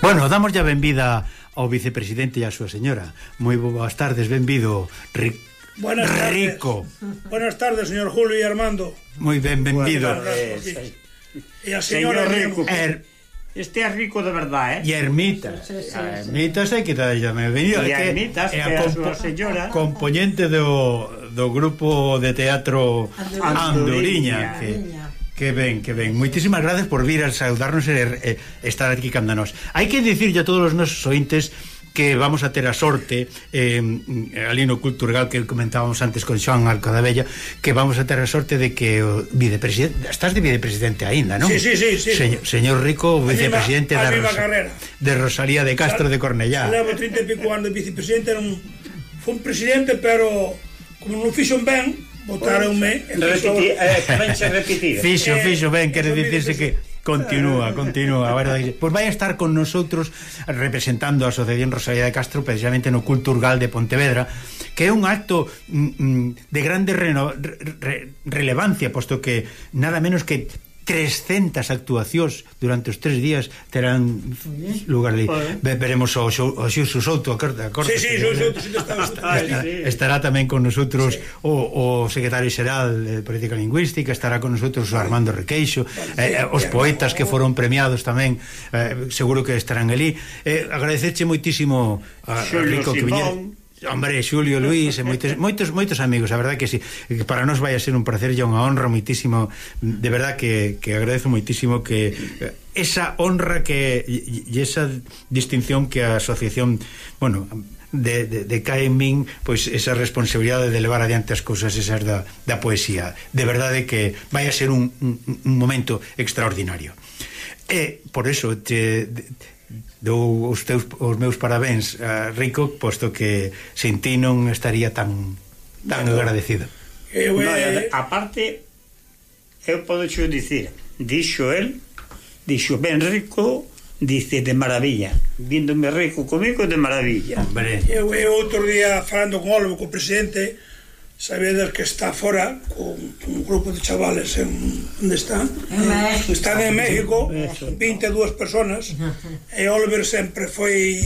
Bueno, damos ya benvida ao vicepresidente e a súa señora. Moi boas tardes, benvido, Buenas tardes. Rico. Buenas tardes, señor Julio y Armando. Moi ben, benvido. E a señora Rico. Este é rico de verdade, E Ermitas. Ermitas hai que dar xa benvido. E a Ermitas, que é a súa señora, componente do grupo de teatro Anduriña. Que ben. Moitísimas gracias por vir a saudarnos e estar aquí canda nós. Hai que dicirlle a todos os nosos ointes que vamos a ter a sorte ali no Culturgal que comentábamos antes con Xoan Alcadabella, que vamos a ter a sorte de que o vicepresidente, estás de vicepresidente aínda, non? Sí. Señor Rico, vicepresidente de Rosalía de Castro de Cornellá. Levo 30 e pico anos de vicepresidente, fui un presidente, pero como non fixo ben, botaronme repetir. Fixo ben, quere dicirse que continúa, a verdade. Pois vai a estar con nosotros representando a Asociación Rosalía de Castro precisamente no Culturgal de Pontevedra, que é un acto de grande relevancia, posto que nada menos que 300 actuacións durante os 3 días terán lugar ali. Veremos o Xuxo Souto estará tamén con nosotros o secretario xeral de Política Lingüística, estará con nosotros o Armando Requeixo, os poetas que foron premiados tamén seguro que estarán ali. Agradecerche moitísimo a Rico que viñera. Hombre, Xulio, Luís e moitos amigos, a verdade que sí, para nós vai a ser un placer e unha honra moitísimo, de verdade que agradezo moitísimo que esa honra que e esa distinción que a asociación, bueno, de cae en min, pois esa responsabilidade de levar adiante as cousas esas da poesía, de verdade que vai a ser un momento extraordinario. E por eso dou os meus parabéns a Rico, posto que sin ti non estaría tan agradecido. Aparte, eu podo xo dicir, dixo ben Rico, dice de maravilla, víndome Rico comigo de maravilla. Eu outro día falando con Olmo, co presidente, sabedes que está fora con un grupo de chavales onde están en México, 22 personas, e Oliver sempre foi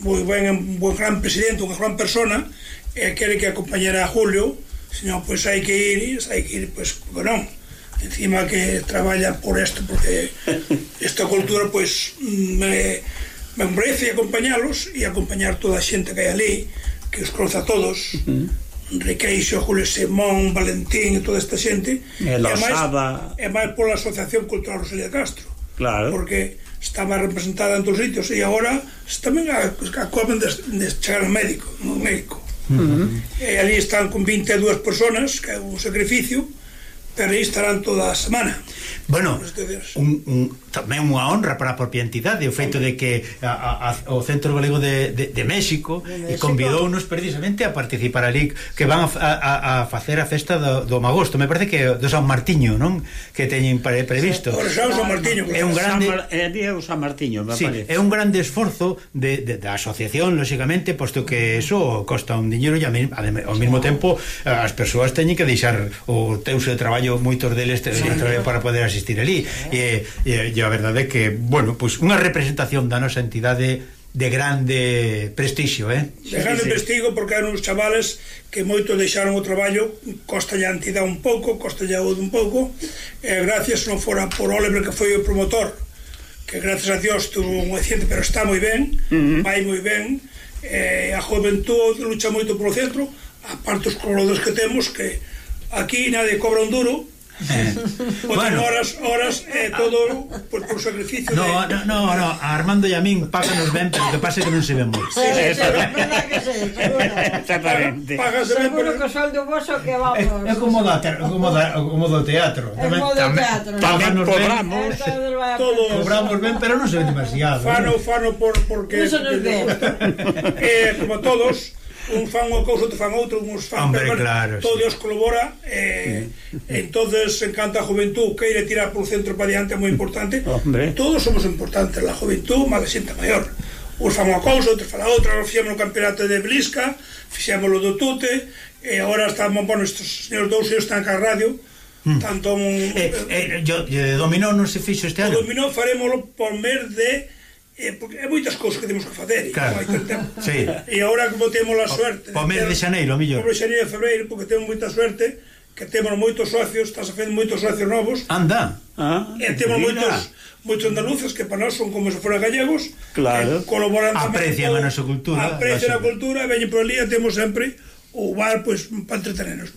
moi un gran presidente, unha gran persona, e quere que acompañara a Julio, senón, pois hai que ir, pois, non, encima que traballa por isto, porque esta cultura, pois, me merece acompañalos e acompañar toda a xente que hai ali, que os cruza a todos, Requeixo, Julio Simón, Valentín e toda esta xente, e máis pola Asociación Cultural Rosalía de Castro, claro, porque estaba representada en todos os sitios e agora tamén acaban de chegar no México, e ali están con 22 personas, que é un sacrificio, pero aí estarán toda a semana. Bueno, tamén unha honra para a propia entidade o feito de que o Centro Galego de México convidounos precisamente a participar ali, que van a facer a festa do Magosto, me parece que do San Martiño, non? Que teñen previsto. É un grande San Martiño, me parece. É un grande esforzo da asociación, lógicamente, posto que eso costa un diñeiro e ao mesmo tempo as persoas teñen que deixar o teus de traballo, moitos deles para poder asistir ali, e a verdade é que, bueno, pois unha representación da nosa entidade de grande prestixio, de grande prestigio, porque eran uns chavales que moito deixaron o traballo, costalle a entidade un pouco, costalle a un pouco, e gracias non fora por Oliver, que foi o promotor, que gracias a Dios tuvo un accidente, pero está moi ben, vai moi ben, a juventude lucha moito polo centro, aparte os colaboradores que temos, que aquí nadie cobra un duro, bueno, horas todo por sacrificio. No, Armando e a min páganos ben, pero que pase que non se ven moi. Exactamente. Seguro que o soldo voso que vamos. É como do teatro. Tamén cobramos. Cobramos ben, pero non se ven demasiado. Fano porque como todos, un fan unha cousa, outro fan outro, uns fan, claro, todo Dios colabora, entonces encanta a juventud, queire tirar por centro para diante, é moi importante. Todos somos importantes, la juventud, máis a xente maior. Uns fan unha cousa, outros fan a outra. Fixemos o campeonato de Blisca, fixemos o do Tute, e agora estamos, bueno, estes señores dous están ca radio, tanto dominó non se fixo este ano. O dominó farémoslo por mes de porque é moitas cousas que temos que facer, claro. Sí. E agora como temos a suerte o mes de xaneiro, mellor. O mes de xaneiro e febreiro, porque temos moita suerte que temos moitos socios, estás a fazer moitos socios novos. Anda. E temos moitos andaluces que para nós son como se foran gallegos, claro, colaboran tamén, aprecian a nosa cultura, aprecian a cultura, veñen por ali e temos sempre o bar pois para entretenernos.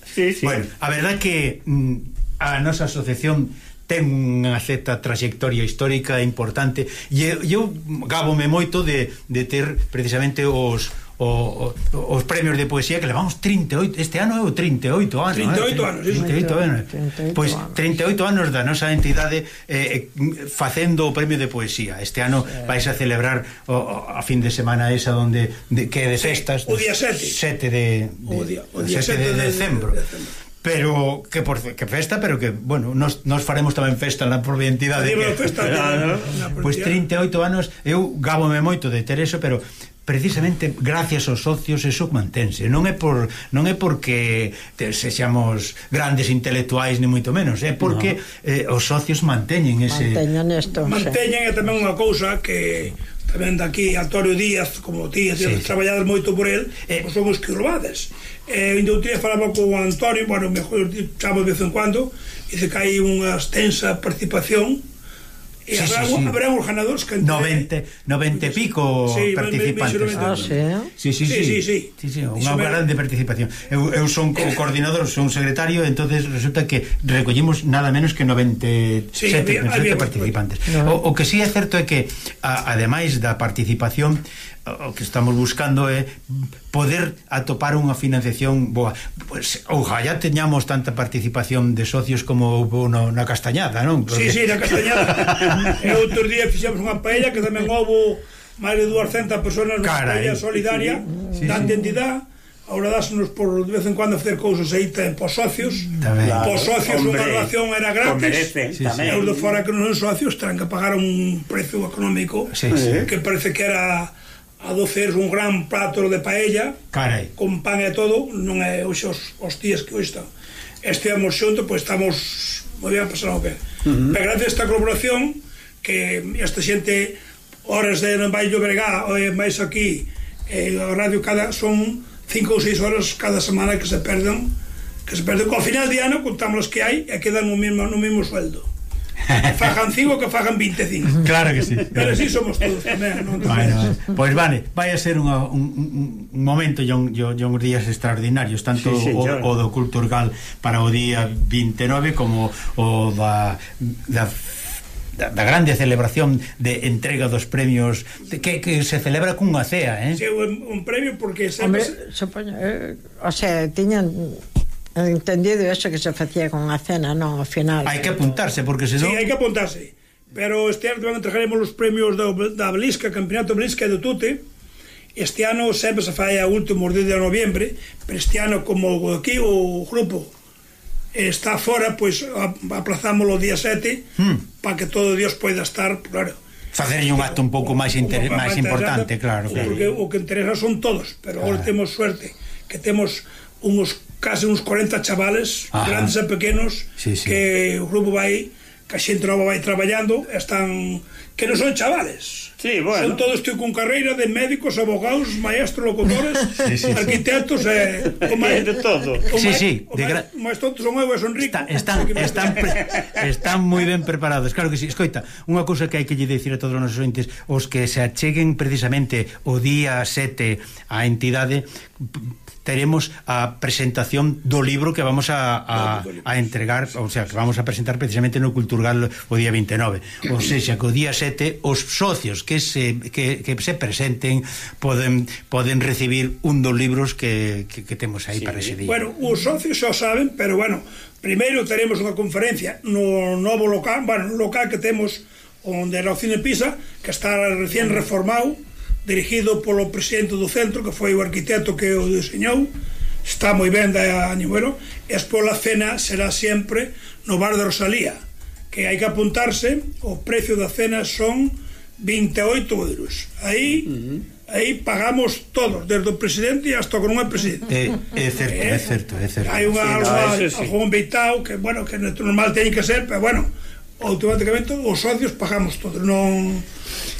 Sí, sí. Bueno, a verdade que a nosa asociación ten unha certa trayectoria histórica importante e eu gábome moito de ter precisamente os premios de poesía que levamos 38, este ano é o 38 anos 38 anos, sí. 38 anos. Pois 38 anos da nosa entidade facendo o premio de poesía. Este ano vais a celebrar a fin de semana esa donde que é de festas, o día 7 de decembro. Pero que festa, pero que, bueno, nos faremos tamén festa na propia entidade. Pois 38 anos, eu gábome moito de ter eso, pero precisamente gracias aos socios eso mantense. Non é porque sexamos grandes intelectuais ni moito menos, é porque os socios manteñen ese manteñen. E tamén unha cousa que tamén daqui Antonio Díaz, como ti traballades moito por el, son os que urbades. Ainda outro día falaba con Antonio, bueno, mejor chamo de vez en cuando, dice que hai unha extensa participación. E habrá uns ganadores que 90 e pico participantes. Sí, unha grande participación. Eu son o coordinador, son secretario, entonces resulta que recollimos nada menos que 97 participantes. O que sí é certo é que ademais da participación, o que estamos buscando é poder atopar unha financiación boa. Pues, ojalá teñamos tanta participación de socios como houve na Castañada, non? Porque... Sí, na Castañada. E outro día fixemos unha paella que tamén houve máis de 200 personas na paella solidaria da entidade. Ahora dásenos por de vez en cuando facer cousas aí pos socios. Pos socios unha relación era gratis. E os de fora que non son socios terán que pagar un precio económico que parece que era a 12 euros un gran plato de paella con pan e todo. Non é hoxe os días que hoxe están. Estivemos xunto, pois estamos moi ben a pasar o pé. Pero gracias a esta colaboración que esta xente horas de Valle do Bregá ou máis aquí a radio son 5 ou 6 horas cada semana que se perden ao final de ano contamos que hai e quedan no mesmo sueldo. Fajan 5 que fajan 25. Claro que sí. Pero así somos todos tamén. Pois vale, vai a ser un momento e uns días extraordinarios, tanto o do Culturgal para o día 29 como o da grande celebración de entrega dos premios que se celebra cunha cea, Sí, un premio porque o sea, tiñan entendido eso que se facía con a cena, non, ao final. Hai que apuntarse, porque senón... Sí, hai que apuntarse. Pero este ano entregaremos os premios da Belisca, Campeonato Belisca de Tute. Este ano sempre se fai a últimos días de noviembre, pero este ano, como aquí o grupo está fora, pois aplazámoslo o día 7 para que todo Dios poida estar, claro. Facerlle un acto un pouco máis importante, claro. Porque o que interesa son todos, pero agora temos suerte que temos case uns 40 chavales, grandes e pequenos, que o grupo vai, que a xente nova vai traballando, están, que non son chavales. Sí, bueno. Son todos con carreira de médicos, abogados, maestros, locutores, arquitectos o máis de todo. O máis tontos son eu e son rico. Están moi ben preparados. Claro que sí. Escoita, unha cousa que hai que lle dicir a todos os nosos ointes, os que se acheguen precisamente o día 7 á entidade, teremos a presentación do libro que vamos a entregar, o sea, que vamos a presentar precisamente no Culturgal o día 29. O sea, que o día 7 os socios que se presenten poden recibir un dos libros que temos aí para ese día. Bueno, os socios xa saben, pero bueno, primeiro teremos unha conferencia no novo local, bueno, no local que temos onde era o Cine Pisa, que está recién reformado, dirigido polo presidente do centro, que foi o arquitecto que o diseñou. Está moi ben da año, bueno. E pola cena será sempre no bar de Rosalía, que hai que apuntarse. O precio da cena son 28 euros. Aí pagamos todos, desde o presidente hasta o que non é presidente. É certo. Hai algún beitao que, bueno, que normal teñen que ser, pero bueno, automáticamente os socios pagamos todos,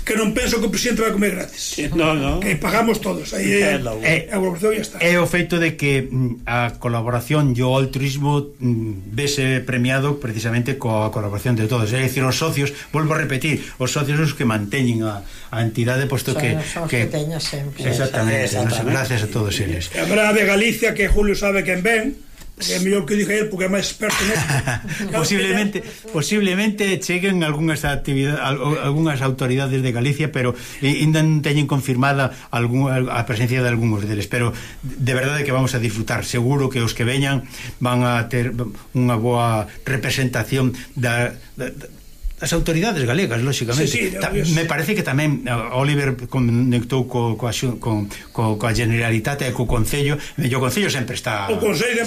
que non penso que o presidente vai comer gratis. No. Que pagamos todos, aí a colaboración ya está. É o feito de que a colaboración e o altruismo vese premiado precisamente coa colaboración de todos, é dicir, os socios, volvo a repetir, os socios os que manteñen a entidade, posto que teña sempre. Exactamente, gracias a todos eles. A verdade de Galicia, que Julio sabe quen ven, é mellor que diga ele porque é máis experto nesto. posiblemente cheguen algunhas autoridades de Galicia, pero ainda non teñen confirmada a presencia de algúns deles, pero de verdade que vamos a disfrutar. Seguro que os que veñan van a ter unha boa representación das autoridades galegas, lóxicamente. Me parece que tamén Oliver conectou coa Generalitat e co Concello, e o Concello sempre está... O Concello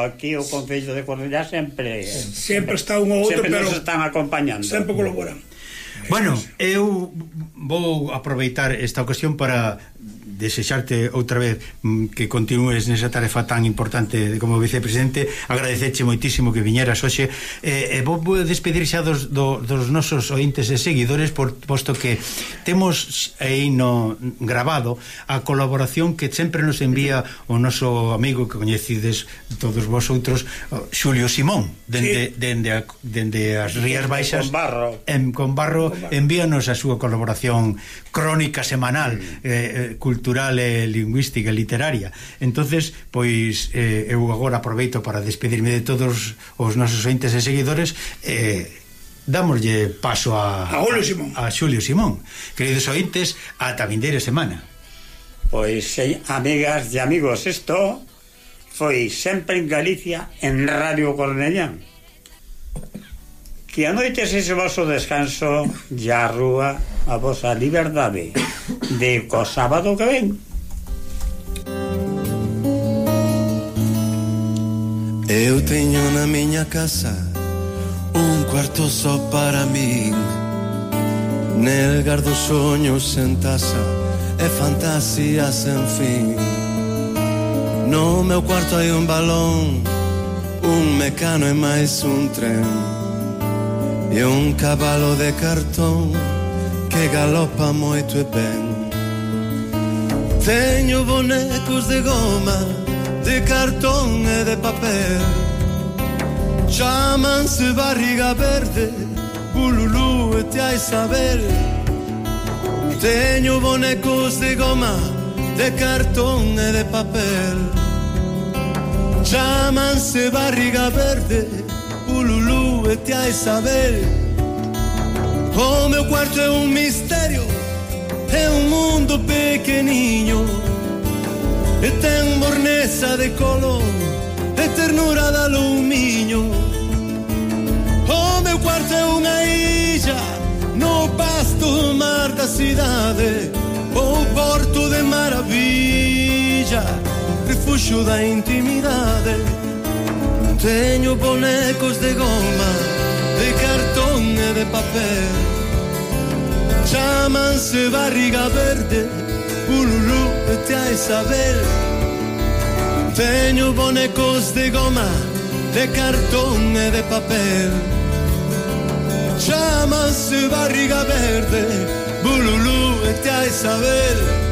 aquí o Concello de Cornellá sempre está un ou outro, pero nos están acompañando, sempre colaboran. Bueno, eu vou aproveitar esta ocasión para desexarte outra vez que continúes nesa tarefa tan importante como vicepresidente, agradecerche moitísimo que viñeras hoxe, e vou despedir xa dos nosos ointes e seguidores, posto que temos aí no grabado a colaboración que sempre nos envía o noso amigo que coñecides todos vosotros, Xulio Simón, dende as Rías Baixas, con Barro envíanos a súa colaboración crónica semanal, cultural e lingüística e literaria. Entonces, pois eu agora aproveito para despedirme de todos os nosos ointes e seguidores, dámoslle paso a Xulio Simón. Queridos ointes, ata vindeira semana. Pois, amigas e amigos, isto foi sempre en Galicia, en Radio Cornellán. Que a noite sexe o vosso descanso e a rúa a vosa liberdade de co sábado que ven. Eu teño na miña casa un cuarto só para min, nel gardo soños en taza e fantasías sen fin. No meu cuarto hai un balón, un mecano e máis un tren, e un cabalo de cartón que galopa moito e ben. Teño bonecos de goma, de cartón e de papel, chámanse barriga verde, bululú e te hai saber. Teño bonecos de goma, de cartón e de papel, chámanse barriga verde, bululú e te hai saber. O meu quarto é un misterio, é un mundo pequeniño, e ten morneza de color, e ternura de alumiño. O meu quarto é unha illa no pasto mar da cidade, o porto de maravilla, refuxo da intimidade. Teño bonecos de goma, de cartón e de papel, chámanse barriga verde, bululú e te hai saber. Teño bonecos de goma, de cartón e de papel, chámanse barriga verde, bululú e te hai saber.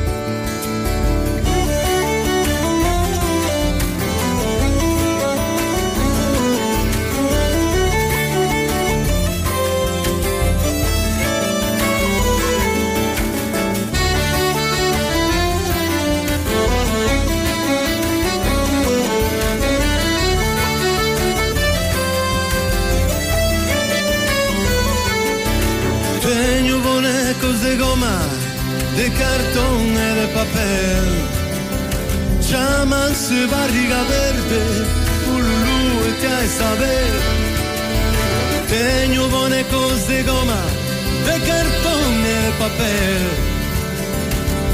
De goma, de cartón e de papel, chámanse barriga verde, bululú e te hai saber. Teño bonecos de goma, de cartón e de papel,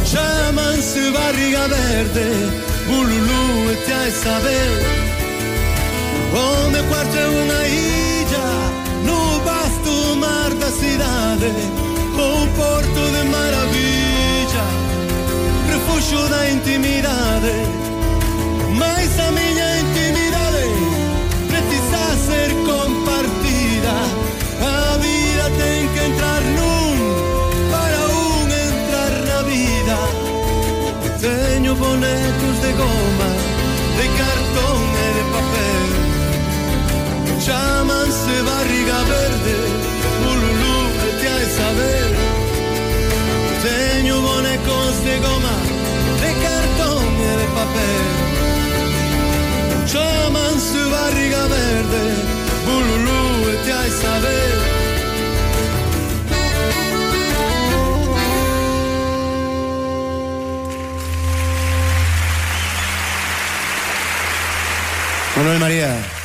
chámanse barriga verde, bululú e te hai saber. O meu quarto é unha illa no vasto mar da cidade, o porto de maravilla, refuxo da intimidade. Mais a miña intimidade precisa ser compartida saber. Manuel María.